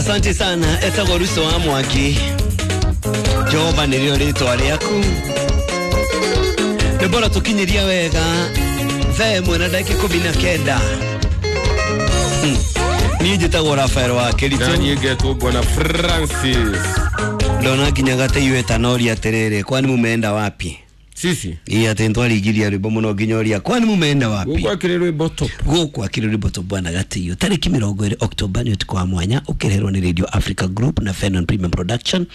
Asante sana etagwo Ruso wa Mwangi. Jehova nĩrĩo rĩtwa rĩaku. Nĩ bora tũkinyĩria wega thaa 1 na ndagĩka 19. Niĩ njĩtagwo Rafael wa Kĩritũ. Na niĩ ngetwo Bwana Francis. Ndona nginya gateiyo etanoria atĩrĩrĩ, kwani mumeenda wapi? Sisi Ii atĩ ntwaringiria rwĩmbo mũno nginya ũria kwani mumeenda wapi? Gũkũ akĩrĩ rwĩmbo top. Gũkũ akĩrĩ rwĩmbo top bwana Gateiyo. Tarĩki 20 Oktoba nĩ ũtukũ wa mwanya ũkĩreherwo nĩ Radio Africa Group na Fenon Premium Production.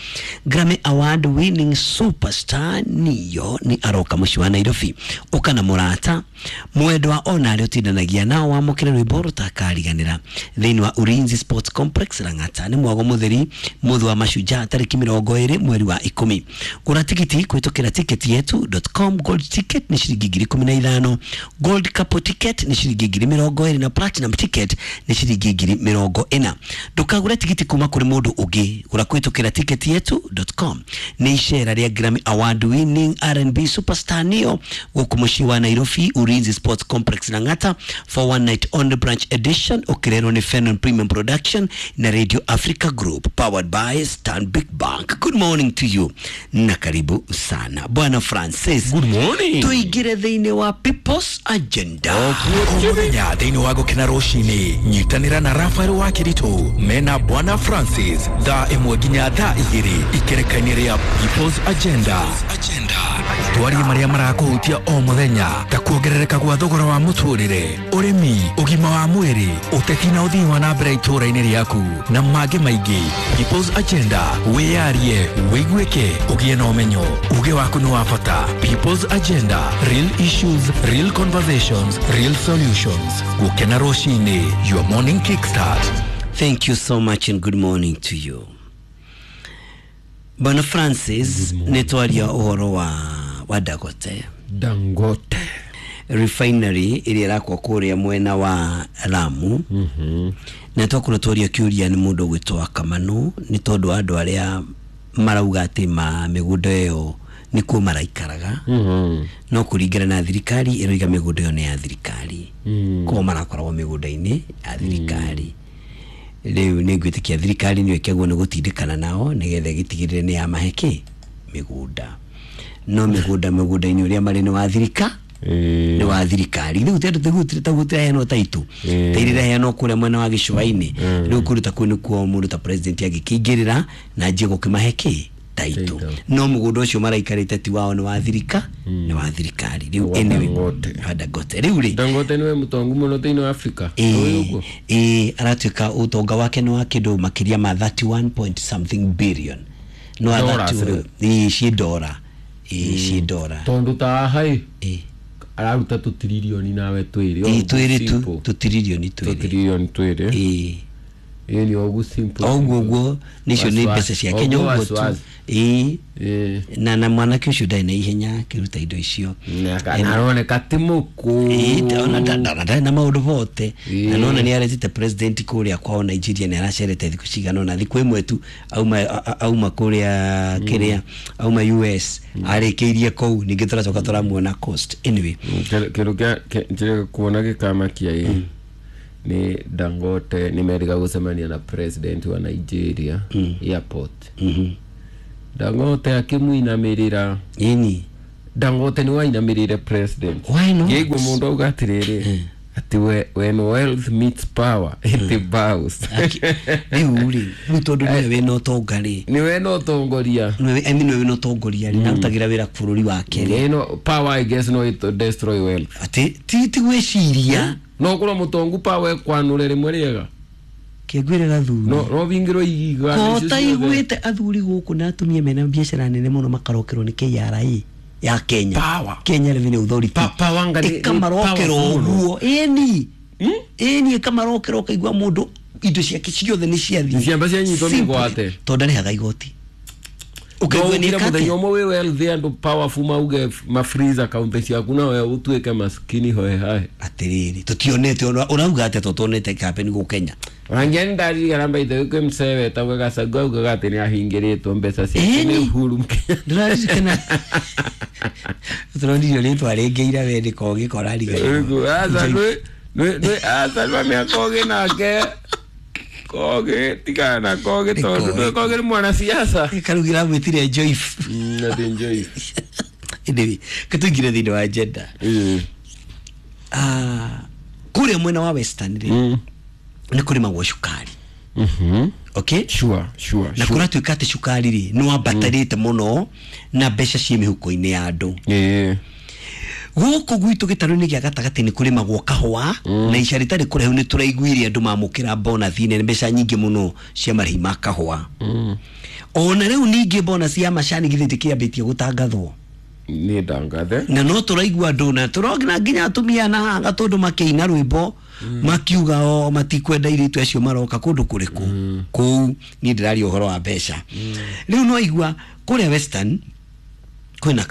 Grammy Award winning superstar Niyo nĩ aroka mũciĩ wa Nairobi. Ũka na mũrata mwendwa ona arĩa ũtindanagia nao wamũkĩre rwĩmbo rũtakariganĩra thĩinĩ wa Ulinzi Sports Complex Lang'ata. Nĩ mwago mũtheri mũthĩ wa mashujaa tarĩki 20 mweri wa 10. Gũra tigiti kũhĩtũkĩra ticket yetu.com. Gold ticket nĩ ciringi 15,000, gold couple ticket nĩ ciringi 20,000 na platinum ticket nĩ ciringi 40,000. Ndũkagũre tigiti kuma kũrĩ mũndũ ũngĩ, gũra kũhĩtũkĩra ticket yetu.com. Nĩ icera rĩa Grammy Award winning R&B superstar Neo gũkũ mũciĩ wa Nairobi Ulinzi Sports Complex Lang'ata for one night only branch edition ũkĩrerwo nĩ Fenon Premium Production na Radio Africa Group powered by Stanbic Bank. Good morning to you na karibu sana Bwana Francis. Good morning. Tuingire thĩinĩ wa People's Agenda. O mũthenya thĩinĩ wa gũkena rũcinĩ nyitanĩra na Rafael wa Kĩritũ mena Bwana Francis thaa 1 nginya thaa 2 ikereka-inĩ rĩa People's Agenda. Twarie marĩa marakũhutia o mũthenya ta kuongerereka gwa thogora wa mũtũrĩre, ũrĩmi, ũgima wa mwĩrĩ, ũteti na ũthii wa na mbere itũũra-inĩ rĩaku na mangĩ maingĩ. People's Agenda, wĩyarie, wĩiguĩke, ũgĩe na ũmenyo. Uge waku nĩ wa bata. People's Agenda, real issues, real conversations, real solutions. Gũkena rũcinĩ, your morning kickstart. Thank you so much and good morning to you. Bwana Francis, nĩ twaria ũhoro wa Dangote. Dangote refinery ĩrĩa ĩrakwo kũrĩa mwena wa Lamu. Na twakorwo twaria kĩũria nĩ mũndũ ũgwĩtwo Kamanu nĩ tondũ andũ arĩa marauga atĩ ma mĩgũnda ĩyo nĩkuo maraikaraga. No kũringana na thirikari ĩroiga mĩgũnda ĩyo nĩ ya thirikari. Koguo marakoragwo mĩgũnda-inĩ ya thirikari. Rĩu nĩ ngwĩtĩkia thirikari nĩyo ĩkĩagwo nĩ gũtindĩkana nao nĩgetha ĩgĩtigĩrĩre nĩ yamahe kĩ mĩgũnda. No mĩgũnda-inĩ ũrĩa marĩ nĩ wa thirika nĩ wa thirikari. Rĩu tagũtiraheanwo taitũ ta iria iraheanwo kũrĩa mwena wa gĩcũa-inĩ. Rĩu kũndũ ta kũu nĩkuo mũndũ ta president angĩkĩingĩrĩra na anjie gũkĩmahe kĩ taitũ. No mũgũnda ũcio maraikarĩte ti wao, nĩ wa thirika, nĩ wa thirikari. Rĩu anyway, wa Dangote. Rĩu rĩ Dangote nĩwe mũtongu mũno thĩinĩ wa Africa. Aratuĩka ũtonga wake nĩ wa kĩndũ makĩria ma 31 point something billion. No ci dora. Ci dora. Tondũ ta haha araruta tũtiririoni nawe twĩrĩ. Twĩrĩ tu, tũtiririoni twĩrĩ. Tũtiririoni twĩrĩ. Ĩĩ ni ogu simple. Oguo guo nicio nĩ mbeca cia Kenya ũguo tu. Na mwanake ũcio ndarĩ na ihenya akĩruta indo icio. Na aroneka ti mũkũũ. Ona ndarĩ na maũndũ bote. Na nona nĩ aretete president kũrĩa kwao Nigeria, nĩ aracerete thikũ cigana ũna, thikũ ĩmwe tu auma kũrĩa kĩrĩa auma US arĩkĩirie kũu, ningĩ tũracoka tũramuona coast. Anyway, kĩndũ kĩa kuona gĩkamakia ĩ ni Dangote nĩ merĩga gũcemania na president wa Nigeria airport. Dangote akĩmũinamĩrĩra. Ĩni Dangote nĩ wainamĩrĩire president. Why not? Ngĩigua mũndũ auga atĩrĩrĩ atĩ when wealth meets power it bows. Rĩu rĩ, rĩu tondũ nĩwe wĩna ũtonga rĩ, nĩwe na ũtongoria, I mean nĩwe wĩna ũtongoria rĩ, arutagĩra wĩra bũrũri wake rĩ. No power I guess no it destroy wealth. Atĩ ti gwĩciria no korwo mũtongu power ekwanũre rĩmwe rĩega kĩngwĩre gathuri no bingĩrwo igiga ko taiguĩte athuri gũkũ na atumia mena biacara nene mũno makarokerwo nĩ KRA ya Kenya. Kenya Revenue Authority ĩkamarokerwo ũguo. Ĩni ĩni ĩkamarokerwo ũkaigua mũndũ indo ciake ciothe nĩ ciathiĩ, ciamba cianyitwo mĩgwate tondũ ndarĩhaga igoti. Ũkaigua nĩ ĩka mũthenya ũmwe wĩ wealthy andũ powerful mauge ma freeze account ciaku nawe ũtuĩke maskini hoe hae. Atĩrĩrĩ tũtionete ũrauga atĩa tũtonete campaign gũkũ Kenya. Wangia ndarigana mbaithe kwĩ msee wetagwo Gachagua augaga atĩ nĩ ahingĩrĩtwo mbeca ciake nĩ Uhuru Kenyatta. Ndĩraririkana tũronirio rĩtwa rĩngĩ ira we nĩko gĩkora riganĩrwo. Aca nĩ aca nĩ mĩaka ũgĩ nake. Kogi tigana na Kogi tondu Kogi. Kogi nĩ mwanasiasa. Karugira mwĩtire Joyce. Ati Joyce. Anyway, katuingire thĩinĩ wa agenda. Ah, kũrĩa mwena wa western rĩ, nĩ kũrĩmagwo cukari. Okay. Sure, sure. Na kũratuĩka atĩ cukari rĩ nĩ wambatarĩte mũno na mbeca ciĩ mĩhuko-inĩ ya andũ. Gũkũ gwitũ gĩtarũ-inĩ gĩa gatagatĩ nĩ kũrĩmagwo kahũa, na ica rĩtarĩ kũraihu nĩ tũraiguire andũ mamũkĩra bonathi nene, mbeca nyingĩ mũno cia marĩhi ma kahũa. Ona rĩu ningĩ bonus ya macani githĩ ndĩkĩambĩtie gũtangathwo? Nĩ ndangathe. Na no tũraigua andũ na tũrona nginya atumia na haha tondũ makĩina rwĩmbo makiuga o matikwenda airĩtu acio maroka kũndũ kũrĩkũ kũu. Niĩ ndĩraria ũhoro wa mbeca. Rĩu no igua kũrĩa western kwĩna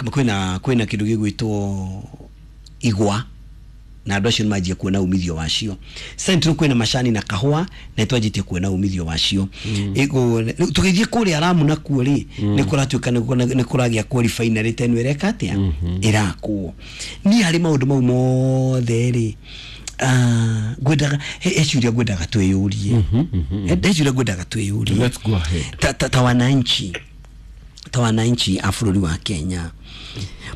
kĩndũ gĩgwĩtwo igwa, na andũ acio nĩmanjia kuona umithio wacio. Central kwĩna macani na kahũa na nĩtwanjĩtie kuona umithio wacio. Rĩu tũgĩthiĩ kũrĩa Lamu nakuo rĩ, nĩ kũratuĩka nĩ kũragĩa kwa refinery ta ĩno ĩreka atĩa, ĩrakwo. Niĩ harĩ maũndũ mau mothe rĩ, ngwendaga he ciũria ngwendaga twĩyũrie. He ciũria ngwendaga twĩyũrie. Let's go ahead. Ta wananchi a bũrũri wa Kenya,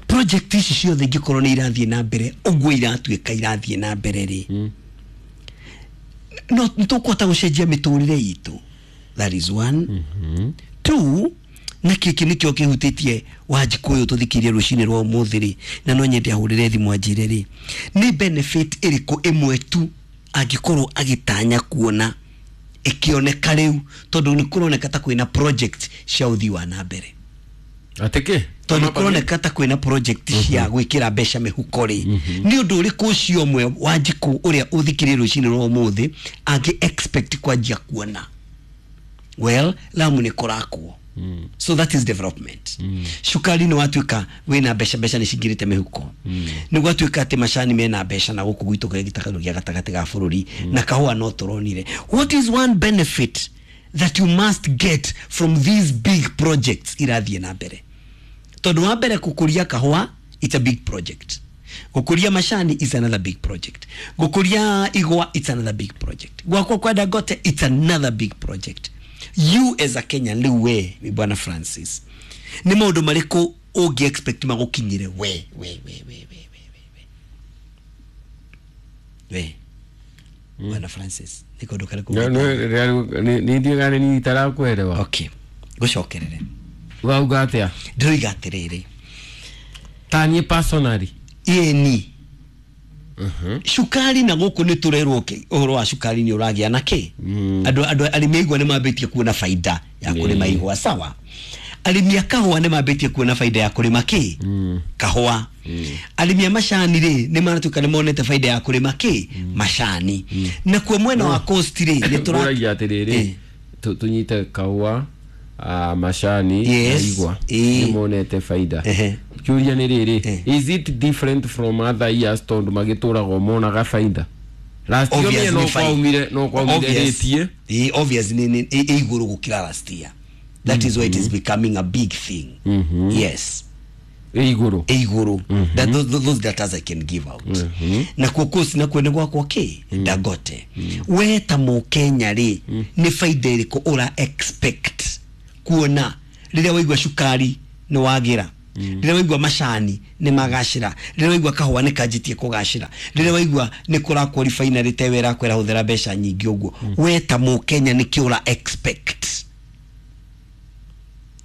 project ici ciothe ingĩkorwo nĩ irathiĩ na mbere ũguo iratuĩka irathiĩ na mbere rĩ, no nĩtũkũhota gũcenjia mĩtũrĩre itũ? That is one. Two, na kĩkĩ nĩkĩo kĩhutĩtie Wanjikũ ũyũ tũthikĩrie rũcinĩ rwa ũmũthĩ rĩ, na no nyende ahũrĩre thimũ anjĩre rĩ, nĩ benefit ĩrĩkũ ĩmwe tu angĩkorwo agĩtanya kuona ĩkĩoneka rĩu, tondũ nĩ kũroneka ta kwĩna project cia ũthii wa na mbere? Atĩ kĩ? Tondũ kũroneka ta kwĩna project cia gwĩkĩra mbeca mĩhuko rĩ, nĩ ũndũ ũrĩkũ ũcio ũmwe Wanjikũ ũrĩa ũthikĩrĩrie rũcinĩ rwa ũmũthĩ angĩ expect kwanjia kuona? Well, Lamu nĩ kũrakwo, so that is development. Cukari nĩ watuĩka wĩna mbeca, mbeca nĩ cingĩrĩte mĩhuko. Nĩ gwatuĩka atĩ macani mena mbeca na gũkũ gwitũ kũrĩa gĩtagatũ gĩa gatagatĩ ga bũrũri, na kahũa no tũronire. What is one benefit that you must get from these big projects irathiĩ na mbere? Tondũ wa mbere, gũkũria kahũa, it's a big project. Gũkũria macani is another big project. Gũkũria igwa, it's another big project. Gwakwa kwa Dangote, it's another big project. You as a Kenyan rĩu, we bwana Francis, nĩ maũndũ marĩkũ ũngĩ expect magũkinyĩre we we we we we we we we we bwana Francis? Nĩ kaũndũ karĩkũ? Nĩ ndiũĩ kana nĩ itarakwelewa. Okay, gũcokerere. Wauga atĩa? Ndĩroiga atĩrĩrĩ. Ta niĩ personally? Ĩni, cukari na gũkũ nĩ tũrerwo ũhoro wa cukari nĩ ũragĩa na kĩ, andũ arĩmi a igwa nĩ mambĩtie kuona baida ya kũrĩma igwa. Sawa. Arĩmi a kahũa nĩ mambĩtie kuona baida ya kũrĩma kĩ, kahũa. Arĩmi a macani rĩ, nĩ maratuĩka nĩ monete baida ya kũrĩma kĩ, macani. Nakuo mwena wa coast rĩ, nĩ tũra Ngũragia atĩrĩrĩ, tũnyite kahũa, macani na igwa, nĩ monete baida. Kĩũria nĩ rĩrĩ, is it different from other years, tondũ magĩtũraga monaga baida? Last year Obvious no nĩ faida. kwaumire Obvious. rĩtie. Obvious nĩ ĩ igũrũ gũkĩra last year. That is why it is becoming a big thing. Yes. Ĩ igũrũ. Ĩ igũrũ. That those data I can give out. Nakuo coast nakuo nĩ gwakwo kĩ, Dangote. We ta mũkenya rĩ, nĩ baida ĩrĩkũ ũra expect kuona rĩrĩa waigua cukari nĩ wagĩra, rĩrĩa waigua macani nĩ magacĩra, rĩrĩa waigua kahũa nĩ kanjĩtie kũgacĩra, rĩrĩa waigua nĩ kũrakwo refinery tewe ĩrakwĩra hũthĩra mbeca nyingĩ ũguo? We ta mũkenya nĩ kĩ ũra expect?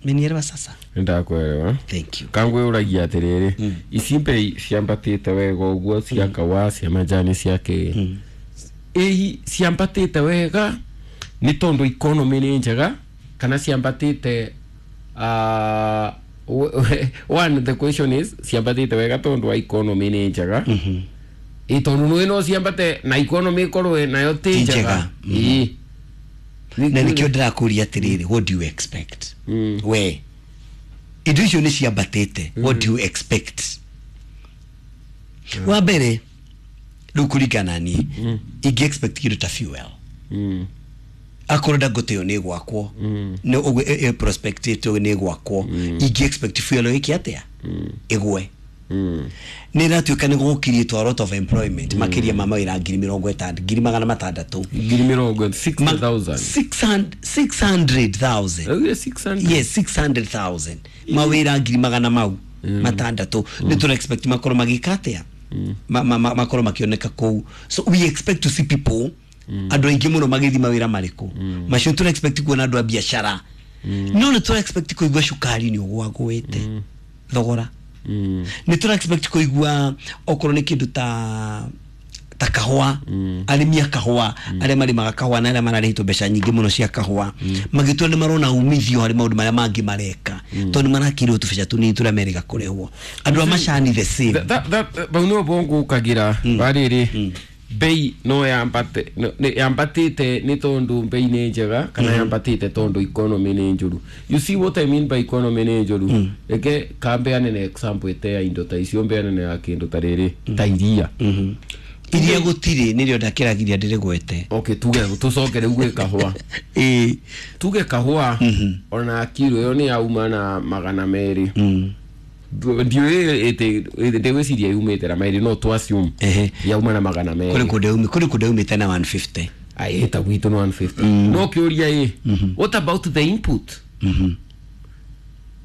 Menielewa sasa? Nĩndakwerewa. Thank you. Kangwĩũragia atĩrĩrĩ, ici mbei ciambatĩte wega ũguo cia kahũa, cia majani, cia kĩ, ĩhi ciambatĩte wega nĩ tondũ economy nĩ njega, kana ciambatĩte, one, the question is, ciambatĩte wega tondũ wa economy nĩ njega? Ĩ tondũ nĩ no ciambate na economy ĩkorwo nayo ti Ti njega. njega. Ĩ. Na nikio ndĩrakũria atĩrĩrĩ, what do you expect? We indo icio nĩ ciambatĩte, what do you expect? Wa mbere rĩu, kũringana niĩ, ingĩ expect kĩndũ ta fuel. Akorwo Dangote ĩyo nĩ gwakwo, nĩ ũguo prospect ĩyo nĩ gwakwo, ingĩ expect fuel ĩke atĩa? Ĩgwe. Nä ĩratuĩka nĩ gũkirie a lot of employment makĩria ma mawĩra 60,000 600,000. Ngiri mĩrongo 60,000. 600,000. Augire 600. Yes, 600,000 mawĩra 600,000 nĩ tũra expect makorwo magĩka atĩa, makorwo makĩoneka kũu. So we expect to see people, andũ aingĩ mũno magĩthiĩ mawĩra marĩkũ macio. Tũra expect kuona andũ a biacara, no nĩ tũra expect kũigua cukari nĩ ũgwagũĩte thogora, nĩ tũra expect kũigua okorwo nĩ kĩndũ ta kahũa, arĩmi a kahũa arĩa marĩmaga kahũa na arĩa mararĩhĩtwo mbeca nyingĩ mũno cia kahũa magĩtua nĩ marona umithio harĩ maũndũ marĩa mangĩ mareka, tondũ nĩ marakĩrwo tũbeca tũnini tũrĩa merĩga kũrĩhwo. Andũ a macani the same. Bau nĩho ngũkagĩra warĩrĩ bei no yambate yambatĩte nĩ tondũ bei nĩ njega kana yambatĩte tondũ economy nĩ njũru. You see what I mean by economy nĩ njũru? Reke kambeane na example ĩte ya indo ta icio, mbeane ya kĩndũ ta rĩrĩ, ta iria. Iria gũtirĩ, nĩrĩo ndakĩragiria ndĩrĩgwete. Okay, tuge tũcoke rĩu gwĩ kahũa. Tuge kahũa ona kiro ĩyo nĩ yauma na 200. Ndiũĩ ndĩgwĩciria yumĩte na 200, no tu assume yauma na magana kũrĩ merĩ. Kũndũ yaumĩte na 150. Ai, ta gwitũ nĩ 150, no kĩũria ĩ, what about the input?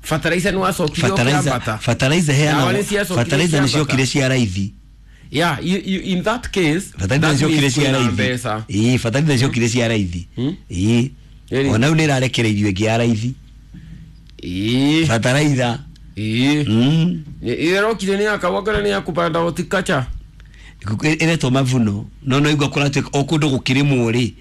Fertilizer nĩ wacokire ũkĩambata. Fertilizer Ndawa heanagwo. nĩ ciacokire Fertilizer nĩ ciambata. ciokire cia raithi. Yeah, in that case Fertilizer that ciokire means cia kwĩna raithi. mbeca. Ĩĩ, fertilizer ciokire cia raithi. Ĩĩ. Ĩrĩ. Ona rĩu nĩ ĩrarekereirio ĩngĩ ya raithi. Fertilizer. Ĩrokire nĩ ya kahũa kana nĩ ya kũbanda horticulture? Ĩretwo mavuno, no igua kũratuĩka o kũndũ gũkĩrĩmwo rĩ,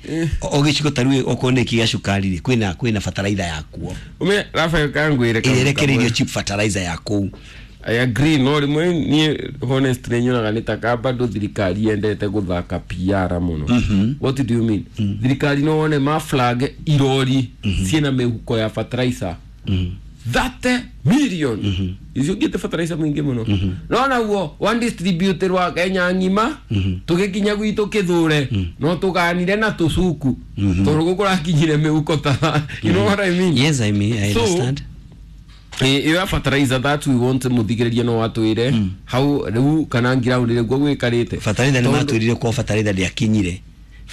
o gĩcigo ta rĩu okorwo nĩ kĩa cukari rĩ, kwĩna fertilizer yakuo. Ume Rafael kangwĩre ĩrĩa ĩrekereirio cheap fertilizer ya kũu. I agree, no rĩmwe niĩ honestly nyonaga nĩ ta ka bado thirikari yendete gũthaka PR mũno. What do you mean? Thirikari no wone ma flag irori ciĩna mĩhuko ya fertilizer 30 million, icio ngĩte fertilizer mũingĩ mũno, no naguo one distributor wa Kenya ng'ima tũgĩkinya gwitũ kĩthure no tũganire na tũcuku tondũ gũkũrakinyire mĩhuko ta, you know what I mean? Yes, I mean, I So, understand. Ĩyo ya fertilizer that we want, mũthikĩrĩria no watwĩre hau rĩu kana ground nĩguo gwĩkarĩte. Fertilizer nĩ matwĩrire kwa fertilizer ndĩakinyire.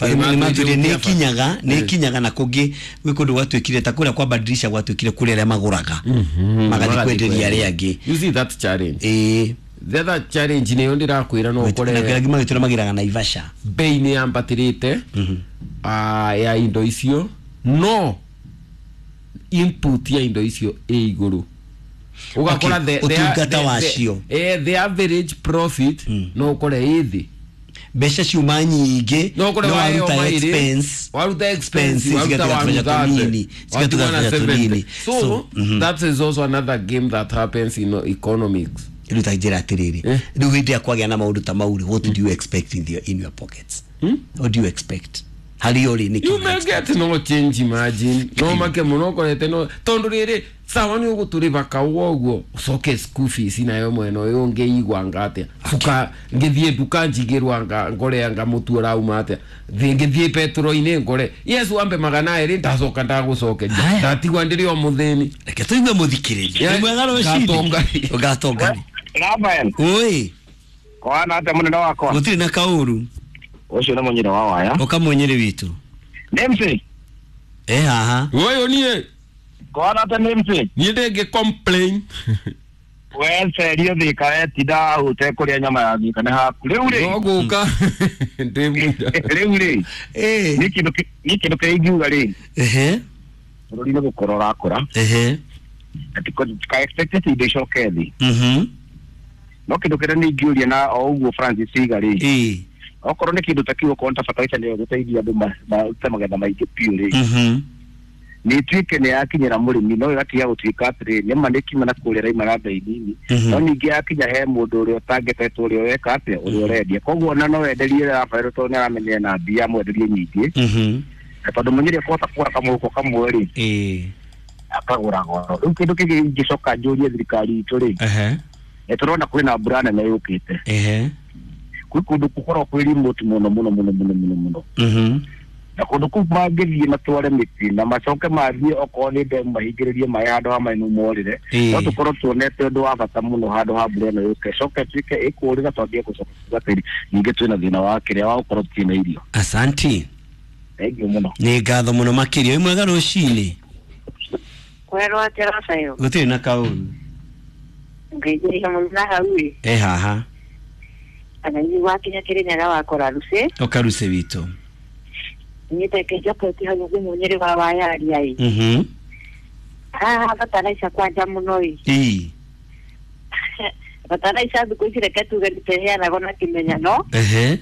Nĩ nĩ matwĩrire nĩ matwĩrire ĩkinyaga, nĩ ĩkinyaga, na kũngĩ gwĩ kũndũ gwatuĩkire ta kũrĩa kwa badirisha gwatuĩkire kũrĩ arĩa magũraga magathiĩ kwenderia arĩa angĩ. You see that challenge? Ĩĩ. The other challenge nĩyo ndĩrakwĩra no na ũkore kũrĩa angĩ magĩtũra magĩraga Naivasha. Bei nĩ yambatĩrĩte ya indo icio, no input ya indo icio ĩ igũrũ, ũgakora Okay, ũtungata wacio. The average profit no ũkore ĩ thĩ. Mbeca ciuma nyingĩ no ũkore no waheo waruta maĩrĩ, expense, waruta expense, expense waruta cigatiga tũbeca tũnini, cigatiga 130, tũbeca tũnini. so, So, that is also another game that happens in economics. Rĩu ta njĩra atĩrĩrĩ, rĩu hĩndĩ ĩrĩa kwagĩa na maũndũ ta mau rĩ, what do you expect in your pockets? What do you expect harĩ ũrĩ nĩkĩ? You may get no change. Imagine no make muno ũkorete no tondu rĩrĩ sawa nĩ ũgũtũrĩba kaũa ũguo ũcoke school fees nayo mwena ũyũ ũngĩ anga atĩa cuka ngĩthiĩ nduka njigĩrwo anga ngore anga mũtu ũrauma atĩa ngĩthiĩ petro-inĩ ngore yes wambe 200 ndacoka ndagũcokeria. Haya. Ndatigwa ndĩrĩ o mũthĩni. Reke tũigue mũthikĩrĩria. Yeah, Nĩ mwega rũcinĩ. ngatongari. Ũgatongari. Rafael, Ũĩ. kwana atĩa mũnene wakwa? Gũtirĩ na kaũru. Ũcio nĩ mũnyĩrĩ wa waya. Ũkamũnyĩrĩ witũ. Nemsi, E haha. Ũyũ niĩ. kwana atĩa Nemsi? Niĩ ndĩngĩ complain. We cerio thika wetinda ũtekũrĩa nyama ya thika nĩ haku. Rĩu rĩ, No gũka ndĩ mũira. Rĩu rĩ, Ĩ. niĩ kĩndũ kĩrĩa ingiuga rĩ, Ehe. bũrũri nĩ gũkũra ũrakũra. Ehe. Na tuka expect atĩ indo icoke thĩ. No kĩndũ kĩrĩa nĩ ingĩũria na o ũguo Francis Iga rĩ, Ĩ. okorwo nĩ kĩndũ ta kĩu, okorwo nĩ ta fertilizer nĩyo ĩgũteithia andũ marute magetha maingĩ biũ rĩ, nĩ ĩtuĩke nĩ yakinyĩra mũrĩmi, no ĩgatiga gũtuĩka atĩrĩ nĩma nĩ kiuma na kũrĩa raima na bei nini, no ningĩ yakinya he mũndũ ũrĩa ũtangetetwo, ũrĩa ũreka atĩa, ũrĩa ũrendia, koguo ona no wenderie Rafael tondũ nĩ aramenyera na mbia mwenderie nyingĩ, na tondũ mũnyĩrĩ akũhota kũgũra kamũhuko kamwe rĩ, Ĩ. akagũra goro. Rĩu kĩndũ kĩngĩ ingĩcoka njũrie thirikari itũ rĩ, nĩ tũrona kwĩna mbura nene yũkĩte, kwĩ kũndũ gũkoragwo kwĩ remote mũno mũno mũno mũno mũno mũno. Na kũndũ kũu mangĩthiĩ matware mĩtĩ na macoke mathiĩ okorwo nĩ ndemu mahingĩrĩrie maĩ handũ ha maĩ mau morĩre, no tũkorwo tuonete ũndũ wa bata mũno handũ ha mbura ĩno yũke ĩcoke ĩtuĩke ĩkũrĩra twambie gũcoka kuga atĩrĩ ningĩ twĩna thĩna wa kĩrĩa wa gũkorwo tũtirĩ na irio. Asanti. Thank you mũno. Nĩ ngatho mũno makĩria. Wĩ mwega rũcinĩ? Kwerwo atĩa Rafael? Gũtirĩ na kaũru. Ngeithĩria mũno na hau ĩ. E haha. Kana ithuĩ wakinya Kĩrĩnyaga wakora Rucĩ. Oka Rucĩ witũ. Nyite kĩnjoketi hau thimũ Nyĩrĩ wa Wayaria ĩ. Haha bataraica kwanja mũno ĩ. Ĩ. Bataraica thikũ ici reke tuge nĩteheanagwo na kĩmenyano. Ehe.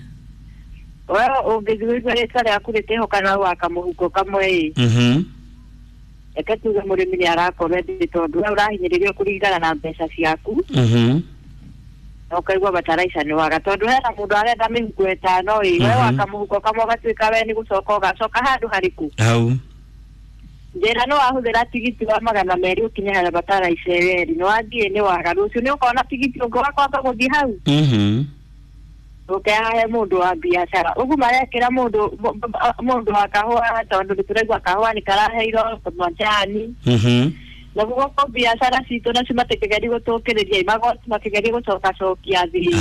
We ũngĩthiĩ ũigue rĩtwa rĩaku rĩtĩho wa kamũhuko kamwe ĩ. Reke tuge mũrĩmi nĩ arakorwo endĩ tondũ we ũrahinyĩrĩrio kũringana na mbeca ciaku. Na ũkaigua bataraica nĩ waga tondũ hena mũndũ arenda mĩhuko ĩtano ĩ, we waka mũhuko kamwe ũgatuĩka we nĩ gũcoka ũgacoka handũ harĩkũ? Hau. Njĩra nĩ wahũthĩra tigiti wa 200 ũkinye harĩa bataraica ĩyo ĩrĩ, nĩ wathiĩ nĩ waga, rũciũ nĩ ũkona tigiti ũngĩ wa kwamba gũthiĩ hau. Ũkehahe mũndũ wa biacara ũguo marekĩra mũndũ wa kahũa tondũ nĩtũraigua kahũa nĩ karaheirwo majani. Na gũkũ biacara citũ nacio matikĩgeria gũtũkĩrĩria magoti makĩgeria gũcokacokia thĩ.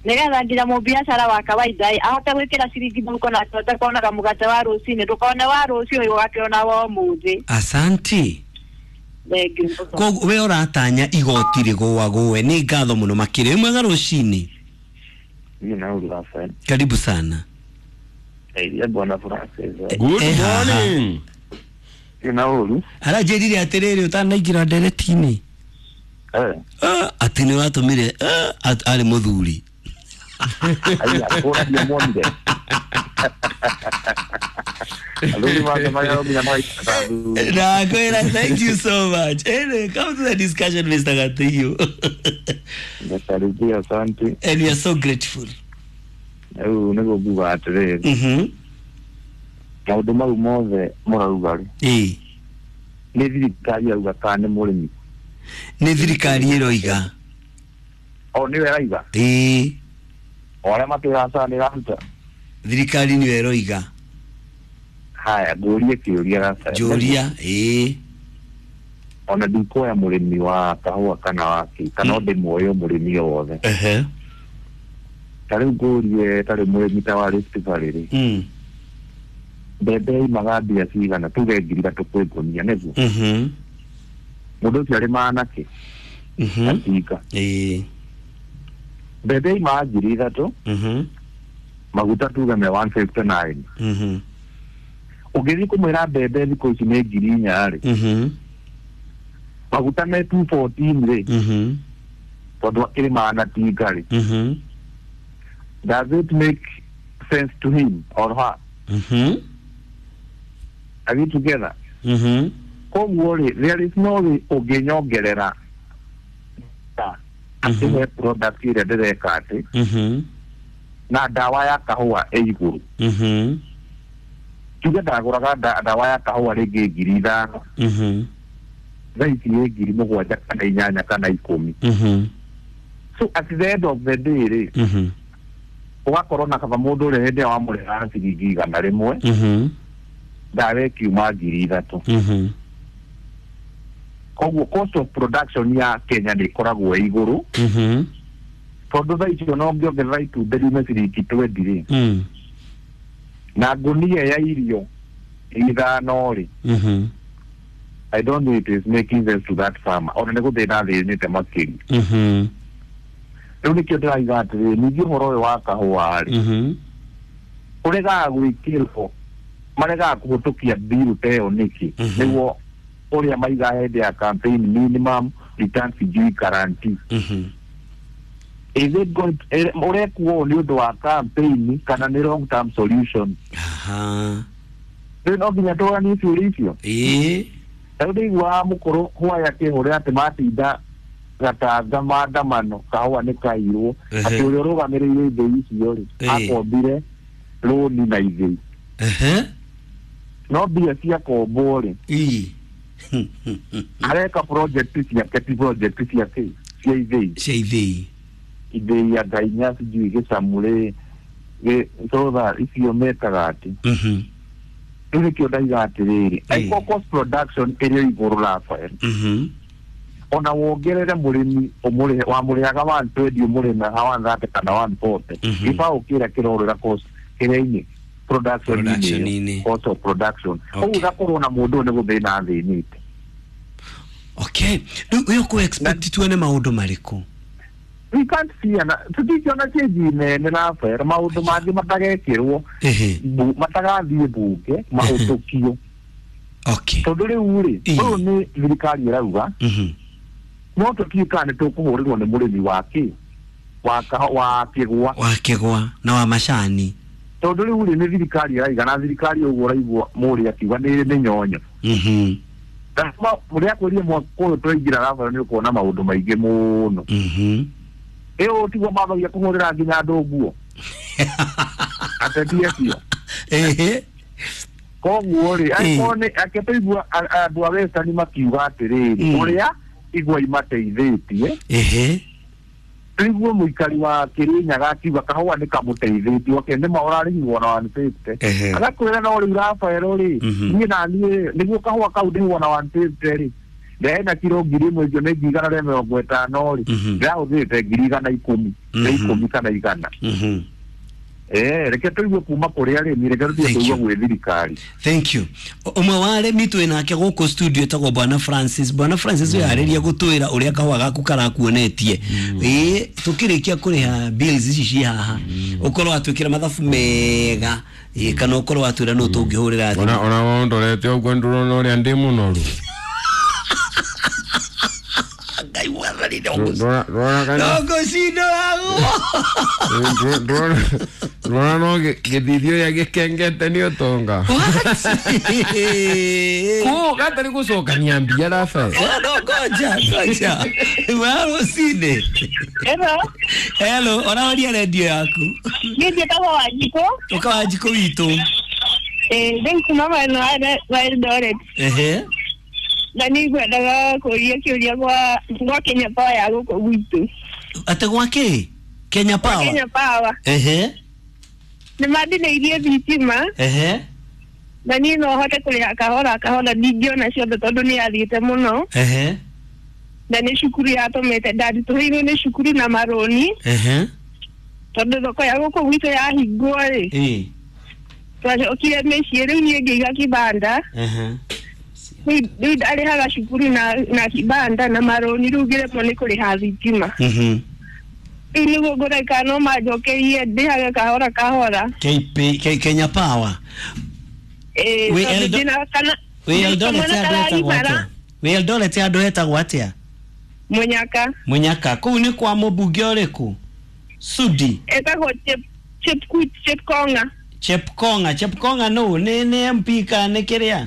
Nĩgetha nginya mũbiacara wa kawaida ahote gwĩkĩra ciringi mũhuko na ahote kuonaga mũgate wa rũcinĩ, ndũkone wa rũciũ ũgakĩona wa ũmũthĩ. Asanti. Koguo we ũratanya igoti rĩgũagũe. Nĩ ngatho mũno makĩria. Wĩ mwega rũcinĩ? Karibu sana. Bwana Francis. Good morning. Ina ũru. Aranjĩrire atĩrĩrĩ ũtanaingĩra ndereti-inĩ. Atĩ nĩ watũmire arĩ mũthuri. Aya, kũra ndiamuonire. Na kwera, thank you so much. Anyway, come to the discussion, Mr. Gatiyo. Asante. And we are so grateful. Rĩu nĩguo nguga atĩrĩrĩ. Maũndũ mau mothe mũrauga rĩ. Nĩ thirikari yauga kana nĩ mũrĩmi? Nĩ thirikari ĩroiga. O nĩwe ĩraiga? Ĩĩ. O arĩa matwĩraga cara nĩ ĩraruta? Thirikari nĩyo ĩroiga. Haya, ngũrie kĩũria Rafael. Njũria, ĩĩ. Ona ndikuoya mũrĩmi wa kahũa kana wa kĩ, kana o ndĩmuoye mũrĩmi o wothe. Ta rĩu ngũrie ta rĩu mũrĩmi ta wa Rift Valley rĩ. Mbembe imaga mbia cigana tuge 3,000 kwĩ ngũnia nĩguo? Mũndũ ũcio arĩmaga nakĩ? Atinga. Ĩĩ. Mbembe imaga 3,000. Maguta tuge me 159. Ũngĩthiĩ kũmwĩra mbembe thikũ ici nĩ 4,000 rĩ. Maguta me 214 rĩ. Tondũ akĩrĩmaga na tinga rĩ. Does it make sense to him or her? Are we together? Koguo rĩ, there is no way ũngĩnyongerera atĩ he product ĩrĩa ndĩreka atĩ na ndawa ya kahũa ĩ igũrũ. Tuge ndagũraga ndawa ya kahũa rĩngĩ 5,000. Thaa ici nĩ 7,000 kana 8 kana 10. So at the end of the day rĩ, ũgakorwo na kaba mũndũ ũrĩa hĩndĩ ĩrĩa wamũrĩhaga ciringi 100 ndawa ĩkiuma 3,000. Koguo cost of production ya Kenya nĩ ĩkoragwo ĩ igũrũ. Tondũ thaa icio no ũngĩongerera itumbĩ riume ciringi 20 rĩ, na ngũnia ya irio 5 rĩ, I don't know it is making sense to that farmer. Ona nĩ gũthĩna athĩnĩte makĩria. Rĩu nĩkĩo ndĩraiga atĩrĩrĩ, ningĩ ũhoro ũyũ wa kahũa rĩ, ũregaga gwĩkĩrwo, maregaga kũhĩtũkia bill ta ĩyo nĩkĩ? Nĩguo ũrĩa maigaga hĩndĩ ya campaign, minimum return sijui guarantee. Is it going to, ũrekwo nĩ ũndũ wa campaign kana nĩ long term solution? Rĩu no nginya tũranie ciũria icio. Rĩu ndĩiguaga mũkũrũ hwaya akĩhũrĩra atĩ matinda gatanga maandamano kahũa nĩ kairwo, atĩ ũrĩa ũrũgamĩrĩire ithĩi icio rĩ, akombire rũni na ithĩi. No mbia ciakombwo rĩ, areka project ciake ti project ciake cia ithĩi. Cia ithĩi. Ithĩi ya Ngainya sijui Gĩcamũ rĩ, Thotha icio metaga ati. Rĩu nĩkĩo ndaiga atĩrĩrĩ, angĩkorwo cost production ĩrĩ igũrũ Rafael, ona wongerere mũrĩmi ũmũrĩhe wamũrĩhaga 120 ũmũrĩme 130 kana 140, gĩbaũ kĩrĩa kĩrorĩra cost kĩrĩa-inĩ production-inĩ, cost of production. Ũguo gakorwo na mũndũ ũyũ nĩ gũthĩna athĩnĩte. Okay, rĩu ũyũ kũ expect tuone maũndũ marĩkũ? We can't see ana tũtingĩona change nene Rafael, maũndũ mangĩ matagekĩrwo matagathiĩ mbunge mahũtũkio. Okay. Tondũ rĩu rĩ, ũyũ nĩ thirikari ĩrauga no tũtiũĩ kana nĩ tũkũhũrĩrwo nĩ mũrĩmi wa kĩ wa kĩgwa, wa kĩgwa na wa macani. Tondũ rĩu rĩ, nĩ thirikari ĩraiga, na thirikari ũguo ũraigua mũrĩ akiuga nĩ mĩnyonyo. Mũrĩa akwĩrire mwaka ũyũ twaingĩra Rafael nĩ ũkuona maũndũ maingĩ mũno. Ĩyo tiguo mambagia kũhũrĩra nginya andũ nguo ateti acio. Koguo rĩ, angĩkorwo nĩ ake tũigua andũ a Western makiuga atĩrĩrĩ, ũrĩa igwa imateithĩtie, tũigue mũikari wa Kĩrĩnyaga akiuga kahũa nĩ kamũteithĩtie, okay, nĩma ũrarĩhirwo na 150, agakwĩra no rĩu Rafael rĩ, niĩ na niĩ nĩguo kahũa kau ndĩhwo na 150 rĩ, ndehena kiro 1000 icio nĩ 150 rĩ, ndĩrahũthĩrĩte 110, nĩ 10 kana 100. Reke tũigue kuma kũrĩ arĩmi, reke tũtige kũigua gwĩ thirikari. Thank you. Ũmwe wa arĩmi twĩ nake gũkũ studio etagwo Bwana Francis. Bwana Francis ũyũ arĩria gũtwĩra ũrĩa kahũa gaku karakuonetie. Tũkĩrĩkia kũrĩha bills ici ci haha, ũkorwo watwĩkĩra mathabu mega, kana ũkorwo watwĩra nũ tũngĩhũrĩra thimũ. Ona wondorete ũguo ndũrona ũrĩa ndĩ mũnoru. Ngai mwathani ndũgũcindoragwo. Ndũrona no gĩthithio ũrĩa gĩkengete nĩ ũtonga. Kũ gatarĩ gũcokania mbia Rafael. No ngoja ngoja. Wa rũcinĩ. Hello. Hello, ũrahoria redio yaku. Niĩ njĩtagwo Wanjikũ. Ũka Wanjikũ witũ. Rĩu kuma mwena wa Eldoret. Na nĩ ngwendaga kũria kĩũria gwa Kenya Power ya gũkũ gwitũ. Atĩ gwa kĩ? Kenya Power? Kenya Power. Nĩ mandinĩirie thitima. Na niĩ no hote kũrĩha kahora kahora, ndingĩona ciothe tondũ nĩ yathiĩte mũno. Na nĩ cukuru yatũmĩte ndaritũhĩirwo nĩ cukuru na marũni. Tondũ thoko ya gũkũ gwitũ yahingwo rĩ, twacokire mĩciĩ, rĩu niĩ ngĩiga kibanda. Rĩu ndarĩhaga cukuru na kibanda na marũni, rĩu ngĩremwo nĩ kũrĩha thitima. Rĩu nĩguo ngũreka no manjokerie ndĩhage kahora kahora. Kenya Power. Wĩ Eldoret andũ etagwo atĩa? Mũnyaka. Mũnyaka. Kũu nĩ kwa mũmbunge ũrĩkũ? Sudi. Etagwo Chepkonga. Chepkonga. Chepkonga nũ? Nĩ MP kana nĩ kĩrĩa?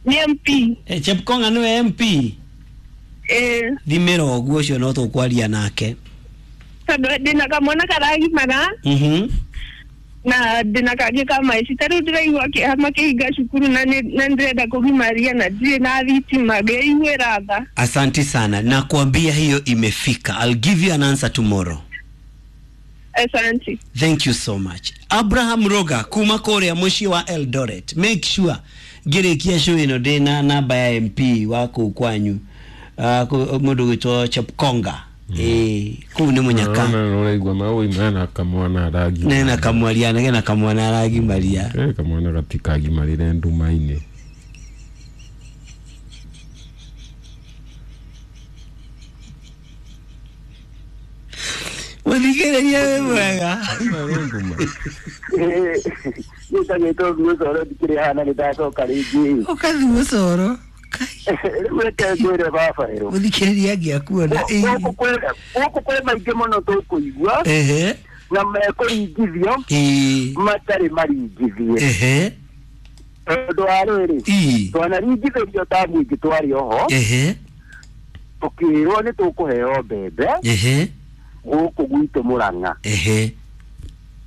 Nĩ MP. Chepkonga nĩwe MP? Thimĩra ũguo ũcio no tũkwaria nake. Tondũ ndĩna kamwana karagimara na ndĩna kangĩ ka maici, ta rĩu ndĩraigua kĩeha makĩhinga cukuru na ndĩrenda kũgimaria na ndirĩ na thitima, ngĩiguĩra tha. Asante sana, nakwambia hiyo imefika. I'll give you an answer tomorrow. Asante. Thank you so much. Abraham Roga kuma kũrĩa mũciĩ wa Eldoret. Make sure ngĩrĩkia show ĩno ndĩna namba ya MP wa kũu kwanyu, mũndũ gwĩtwo Chepkonga. Kũu nĩ Mũnyaka. Ũraigua maũi mena kamwana aragi. Nena kamwaria, nena kamwana aragimaria. Kamwana gatikagimarire nduma-inĩ. Mũthikĩrĩria wĩ mwega. Nĩtagĩtwo Gucoro ndikĩrĩ haha na nĩndacoka rĩngĩ. Ũkathi Gucoro. Rĩu reke ngwĩre baba ĩro. Mũthikĩrĩria angĩakuona. Gũkũ kwĩ maingĩ mũno tũkũigua. Na mekũringithio matarĩ maringithie. Tondũ wa rĩrĩ, twanaringithĩrio ta mũingĩ twarĩ oho, tũkĩrwo nĩ tũkũheo mbembe gũkũ gwitũ Mũrang'a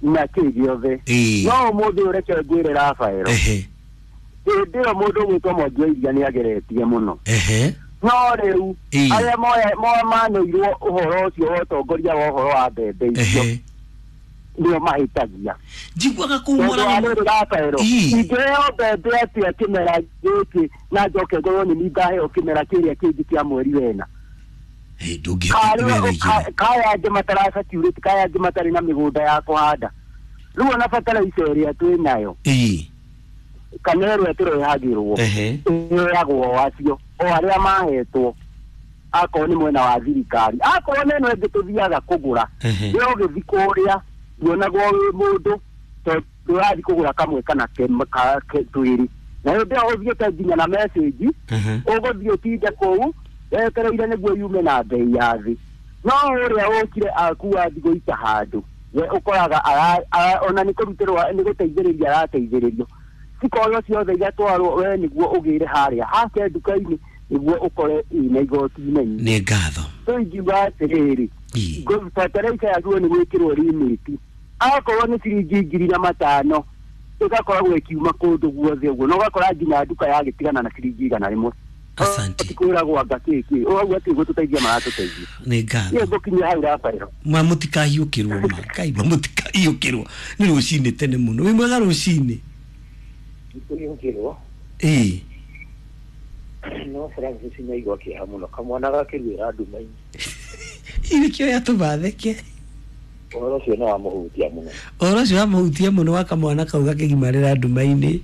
na kĩ gĩothe. No ũmũthĩ ũyũ reke ngwĩre Rafael, hĩndĩ ĩyo mũndũ ũgwĩtwo Mwangi wa Iria nĩ ageretie mũno. No rĩu arĩa maneirwo ũhoro ũcio wa ũtongoria wa ũhoro wa mbembe icio, Nĩo mahĩtagia. Njiguaga kũu Mũrang'a. Ingĩheo mbembe atĩa kĩmera gĩkĩ na njoke ngorwo nĩ niĩ ngaheo kĩmera kĩrĩa kĩngĩ kĩa mweri wena. Kaya angĩ mataracacurĩte, kaya angĩ matarĩ na mĩgũnda ya kũhanda. Rĩu ona bataraitha ĩrĩa twĩ nayo kana ĩrĩa tũrehagĩrwo ĩheagwo o acio o arĩa mahetwo, akorwo nĩ mwena wa thirikari, akorwo nĩ ĩno ĩngĩ tũthiaga kũgũra, we ũgĩthiĩ kũrĩa ndũonagwo wĩ mũndũ tondũ ũrathiĩ kũgũra kamwe kana twĩrĩ, na hĩndĩ ĩyo ũthiĩte nginya na message, ũgũthiĩ ũtinde kũu wetereire nĩguo yume na bei ya thĩ. No ũrĩa ũkire akua thikũ ita handũ we ũkoraga ona nĩ kũrutĩrwo nĩ gũteithĩrĩria arateithĩrĩrio, cikoyo ciothe igatwarwo we nĩguo ũgĩre harĩa hake nduka-inĩ nĩguo ũkore ina igoti inene. Nĩ ngatho. Tũingiuga atĩrĩrĩ, bataraitha yagĩrĩirwo nĩ gwĩkĩrwo limit, akorwo nĩ ciringi 5,000 ĩgakoragwo ĩkiuma kũndũ guothe ũguo, na ũgakora nginya nduka yagĩtigana na ciringi 100. Asante. Kwĩragwo anga kĩkĩ ũrauga atĩ gũtũteithia maratũteithia. Nĩ ngatho. Niĩ ngũkinyia hau Rafael. Ma mũtikahiũkĩrwo ma Ngai, ma mũtikahiũkĩrwo nĩ rũcinĩ tene mũno. Wĩ mwega rũcinĩ? Kũhiũkĩrwo? Ĩĩ. No Francis nĩaigua kĩeha mũno, kamwana gakĩruĩra nduma-inĩ. Nĩkĩo yatũma theke. Ũhoro ũcio nĩ wamũhutia mũno. Ũhoro ũcio wamũhutia mũno wa kamwana kau gakĩgimarĩra nduma-inĩ.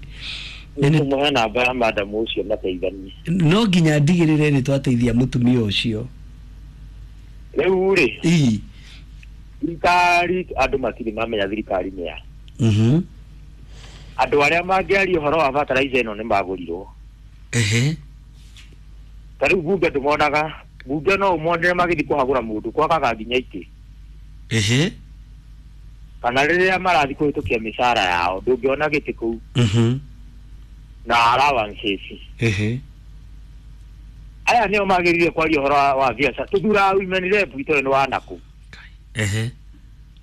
Nĩtũmũhe namba ya madamu ũcio mateithanie. No nginya ndigĩrĩre nĩ twateithia mũtumia ũcio. Rĩu rĩ, ĩĩ, thirikari andũ matirĩ mamenya thirikari nĩ ya. Andũ arĩa mangĩaria ũhoro wa bataraitha ĩno nĩ magũrirwo. Ta rĩu bunge ndũmonaga, bunge no ũmonere magĩthiĩ kũhagũra mũndũ kwakaga nginya itĩ. Kana rĩrĩa marathiĩ kũhĩtũkia mĩcara yao ndũngĩona gĩtĩ kũu. Na allowances. Aya nĩo magĩrĩire kwaria ũhoro wa biacara. Tũthuraga women rep itũ nĩ wa nakũ.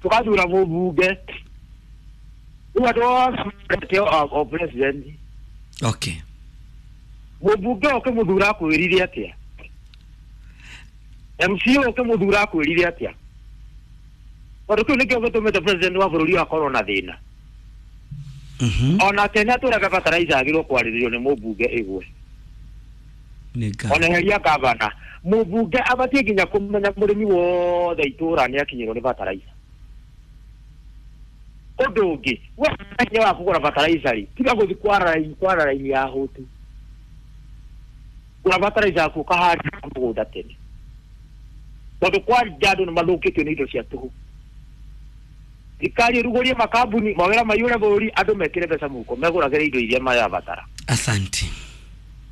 Tũgathura mũmbunge. Rĩu andũ othe o president. Okay. Mũmbunge ũkĩmũthura akwĩrire atĩa? MCA ũkĩmũthura akwĩrire atĩa? Tondũ kĩu nĩkĩo gĩtũmĩte president wa bũrũri akorwo na thĩna. Ona tene atũraga bataraitha agĩrĩirwo kwarĩrĩrio nĩ mũmbunge ĩgwe. Ona heria gavana, mũmbunge abatiĩ nginya kũmenya mũrĩmi wothe itũra nĩ akinyĩrwo nĩ bataraitha. Ũndũ ũngĩ, we hinya wa kũgũra bataraitha rĩ, tiga gũthiĩ kwara raini ya hũtu. Gũra bataraitha yaku ũkahanda mũgũnda tene. Tondũ kwanja andũ nĩ mathũkĩtio nĩ indo cia tũhũ. Thirikari ĩrugũrie makambuni, mawĩra maiyũre bũrũri, andũ mekĩre mbeca mũhuko, megũragĩre indo iria marabatara. Asante.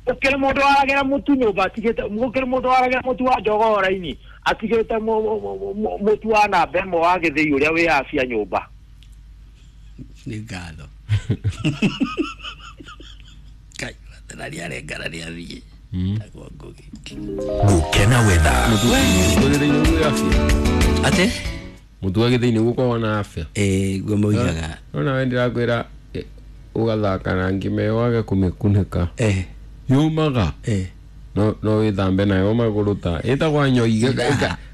Gũkĩrĩ mũndũ waragĩra mũtu nyũmba atigĩte, gũkĩrĩ mũndũ waragĩra mũtu wa njogoo raini atigĩte mũtu wa namba ĩmwe wa gĩthĩi ũrĩa wĩ afya nyũmba. Nĩ ngatho. Ngai, wathana arengara nĩ athiĩ. Gũkena wetha. Atĩ? Mũtu wa gĩthĩi nĩguo ũkoragwo na afya. Ĩĩ, guo moigaga. Nona we ndĩrakwĩra ũgathaka na ngima ĩyo wage kũmĩkunĩka. Yũmaga. No wĩthambe nayo magũrũ ta ĩtagwo nyoige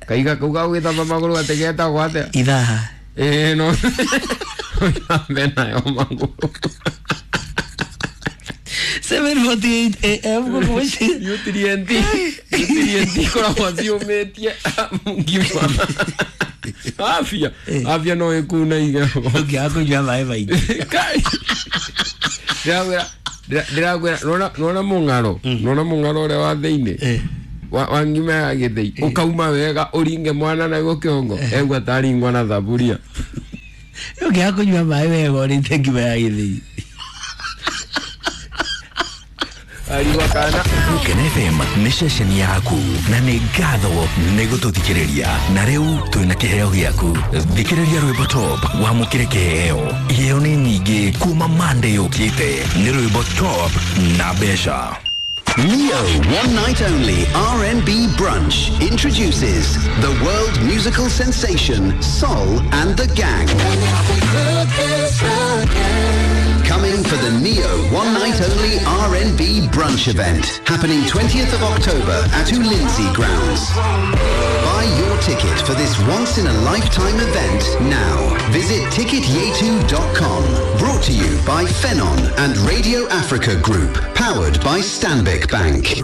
kaiga kau ga gwĩthamba magũrũ atĩ getagwo atĩa? Ithaha. Ĩĩ, no wĩthambe nayo magũrũ. 7:48 AM gũkũ. Nutrient ikoragwo ciũmĩtie ngima. Afya, afya no ĩkuna igego. Ũngĩaga kũnyua maĩ maingĩ. Ndĩrakwĩra nona mũng'aro, nona mũng'aro ũrĩa wa thĩinĩ wa ngima ya gĩthĩi ũkauma wega ũringe mwana naguo kĩongo egua taringwa na thaburia. Ũngĩaga kũnyua maĩ wega ũrĩte ngima ya gĩthĩi. Gũkena FM nĩ ceceni yaku na nĩ ngatho nĩ gũtũthikĩrĩria, na rĩu twĩna kĩheo gĩaku. Thikĩrĩria rwĩmbo top wamũkĩre kĩheo. Iheo nĩ nyingĩ kuma Monday yũkĩte. Nĩ rwĩmbo top na mbeca. Neo One Night Only R&B Brunch introduces the world musical sensation Sol and the Gang. Coming for the Neo One Night Only R&B Brunch event, happening 20th of October at Ulinzi Grounds. Buy your ticket for this once in a lifetime event now. Visit ticketyetu.com. Brought to you by Fenon and Radio Africa Group, powered by Stanbic Bank.